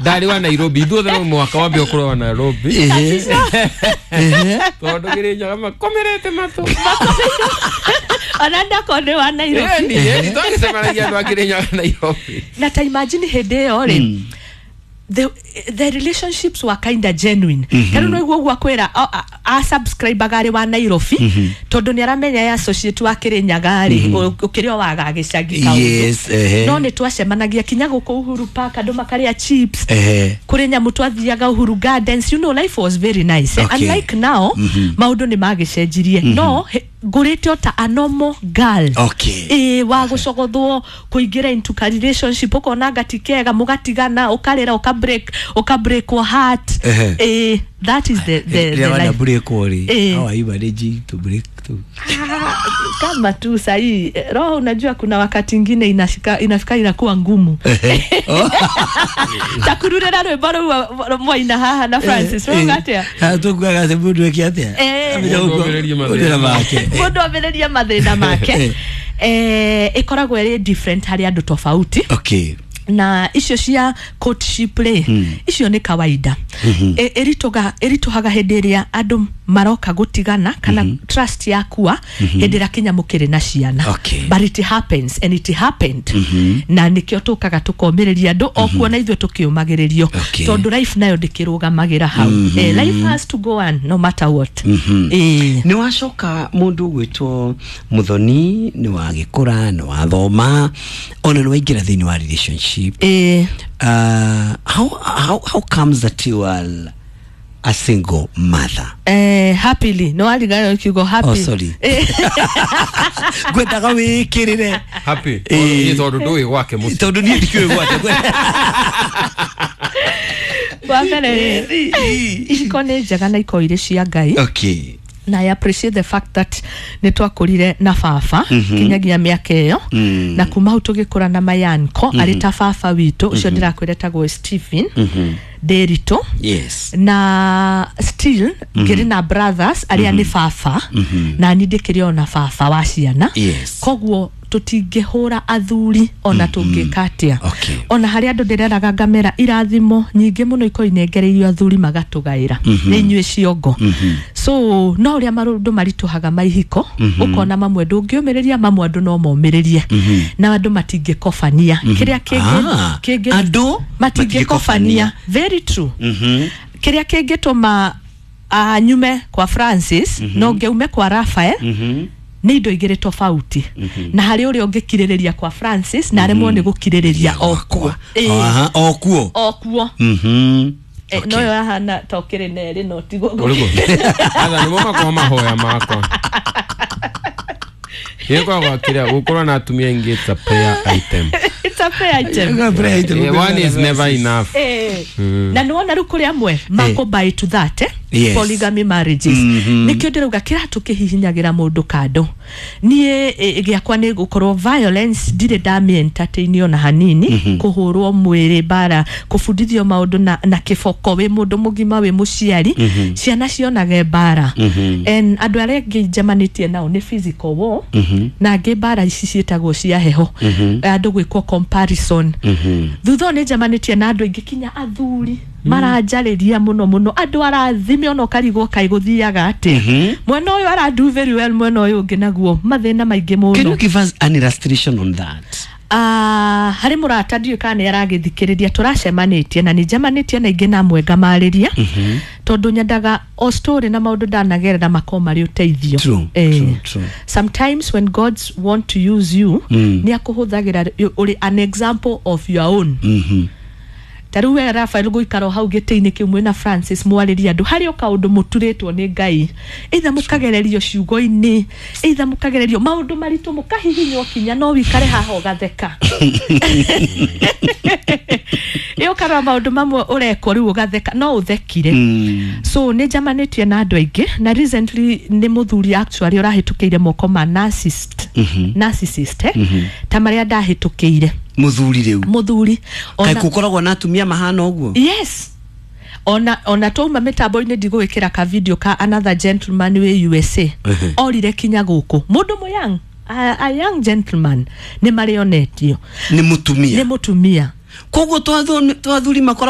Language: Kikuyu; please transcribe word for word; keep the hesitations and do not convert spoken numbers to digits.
Ndarĩ wa Nairobi. Ithuothe no mũhaka wambe ũkorwo wa Nairobi, tondũ Kĩrĩnyaga makomerete matũ. Ona ndakorwo nĩ wa Nairobi. Ĩni, ĩni, twagĩcemanagia andũ a Kĩrĩnyaga Nairobi. Na ta imagine hĩndĩ ĩyo rĩ, the, the relationships were kind of genuine. mm -hmm. Tarĩu no iguo akwĩra a subscribe arĩ wa Nairobi, mm -hmm. tondũ nĩ aramenya ya associate wa Kĩrĩnyaga rĩ, mm -hmm. ũkĩrĩ o waga gĩcagi kaũndũ. Yes, ehe. No nĩ twacemanagia kinya gũkũ Uhuru Park, andũ makarĩa chips. Ehe. Kũrĩ nyamũ twathiaga Uhuru Gardens, you know life was very nice, eh? Okay. Unlike now, mm -hmm. maũndũ nĩ magĩcenjirie. mm -hmm. No he- ngũrĩte o ta a normal girl. Okay. Ĩ wa gũcogothwo kũingĩra into ka relationship, ũkona ngati kega, mũgatigana, ũkarĩra, ũka break ũka break your heart. Ehe. Eh, that is the the, the Rĩrĩa wana life. break rĩ, Eh. how are you managing to break to Ah, kama tu sahii, eh, roho, unajua kuna wakati ingine inashika inafika inakuwa ngumu. Takururĩra rwĩmbo rũu mwaina haha na Francis, rauga atĩa? Tukuaga atĩ mũndũ eke atĩa? Eh. Amenya Mũndũ ũguo- ambĩrĩrie mathĩna. ũndũ na make. Mũndũ ambĩrĩrie mathĩna make. Eh, ĩkoragwo ĩrĩ different harĩ andũ tofauti. Okay. Na icio cia courtship rĩ, icio nĩ kawaida. Ĩ- ĩritũga ĩritũhaga hĩndĩ ĩrĩa andũ maroka gũtigana kana trust yakua hĩndĩ ĩrĩa kinya mũkĩrĩ na ciana. Okay. But it happens and it happened, na nĩkĩo tũkaga tũkomĩrĩria andũ o kuona ithuĩ tũkĩũmagĩrĩrio, Okay. tondũ life nayo ndĩkĩrũgamagĩra hau. Eh, life has to go on no matter what. Eh. Nĩ wacoka mũndũ ũgwĩtwo Muthoni, nĩ wagĩkũra, nĩ wathoma, ona nĩ waingĩra thĩinĩ wa relationship. Eh. uh, how, how, how comes that you are a single mother? Eh, happily, no warigana kiugo happy. Oh, sorry. Eh. Ngwendaga wĩkĩrĩre. Happy. Eh. Ĩ, tondũ ndũĩ gwake mũciĩ. Tondũ niĩ ndikĩũĩ gwake. Wa mbere rĩ, ihiko nĩ njega na ikorwo irĩ cia Ngai. Okay na I appreciate the fact that nĩ twakũrire na baba kinyagia mĩaka ĩyo, Mm. na kuma hau tũgĩkũra na mayanko arĩ ta baba witũ ũcio ndĩrakwĩra etagwo Stephen Ndĩritũ. Yes Na still ngĩrĩ na brothers arĩa nĩ baba, na niĩ ndĩkĩrĩ o na baba wa ciana. Yes. Koguo tũtingĩhũra athuri ona tũngĩka atĩa. Okay. Ona harĩa andũ ndĩreraga ngamera irathimo nyingĩ mũno ikorwo inengereirio athuri magatũgaĩra nĩ inyuĩ ciongo. So no ũrĩa maũndũ maritũhaga maihiko, ũkona mamwe ndũngĩũmĩrĩria, mamwe andũ no momĩrĩrie, na andũ matingĩkobania kĩrĩa kĩngĩ Ah, kĩngĩ andũ matingĩkobania, very true. Kĩrĩa kĩngĩtũma uh, nyume kwa Francis no ngĩume kwa Raphael nĩ indo igĩrĩ tofauti, na harĩ ũrĩa ũngĩkirĩrĩria kwa Francis na aremwo nĩ gũkirĩrĩria o kuo. Ĩĩ, Aha, o kuo. O kuo. Mhm. Eh, no yo ahana ta ũkĩrĩ na erĩ no tiguo. Ũrĩkũ? Atha nĩmo makorwo mahoya makwa. Gĩkoragwo kĩrĩa gũkorwo na atumia aingĩ, it's a prayer item. It's a prayer item. Eh, one is never enough. Eh, na nĩwona rĩu kũrĩ amwe mako buy to that, eh? Yes. Polygamy marriages, nĩkĩo ndĩrauga kĩratũ kĩhihinyagĩra mũndũ kando. Niĩ eh, gĩakwa nĩ gũkorwo violence ndirĩ ndamĩ entertain ona hanini, kũhũrwo mwĩrĩ, mbara, kũbundithio maũndũ na, na kĩboko wĩ mũndũ mũgima, wĩ mũciari, ciana cionage mbara. And andũ arĩa angĩ njemanĩtie nao nĩ physical war, na angĩ mbara ici ciĩtagwo cia heho, andũ gwĩkwo comparison. Thutha ũyũ nĩ njemanĩtie na andũ aingĩ, kinya athuri maranjarĩria mũno mũno, andũ arathime ona ũkarigwo kaĩ gũthiaga atĩa. Mwena ũyũ aradu very well, mwena ũyũ ũngĩ naguo mathĩna maingĩ Can you mũno. give us an illustration on that? Ah, harĩ mũrata ndiũĩ kana nĩ aragĩthikĩrĩria tũracemanĩtie, na nĩ njemanĩtie na ingĩ na amwe ngamarĩria, tondũ nyendaga o story na maũndũ ndanagerera makorwo marĩ ũteithio. True, Eh, true, true. Sometimes when God's want to use you, mm. nĩ akũhũthagĩra ũrĩ an example of your own. Mhm. Ta rĩu we Rafael gũikara o hau gĩtĩ-inĩ kĩu mwĩna Francis mwarĩrie andũ, harĩ o kaũndũ mũturĩtwo nĩ Ngai, either mũkagererio ciugo-inĩ, either mũkagererio maũndũ maritũ, mũkahihinywo kinya no wikare haha ũgatheka. Ĩ ũkarora maũndũ mamwe ũrekwo rĩu ũgatheka, no ũthekire. Mm. So nĩ njamanĩtie na andũ aingĩ, na recently nĩ mũthuri actually ũrahĩtũkĩire moko ma narcissist, narcissist, eh? Ta marĩa ndahĩtũkĩire. Mũthuri rĩu? Mũthuri. Kaĩ Ona- gũkoragwo na atumia mahana ũguo? Yes, ona ona twauma mĩtambo-inĩ ndigũgĩkĩra ka video ka another gentleman wĩ U S A orire kinya gũkũ, mũndũ mũyang, a, a young gentleman, nĩ marĩonetio nĩ mũtumia. Nĩ mũtumia. Koguo twathuri makoragwo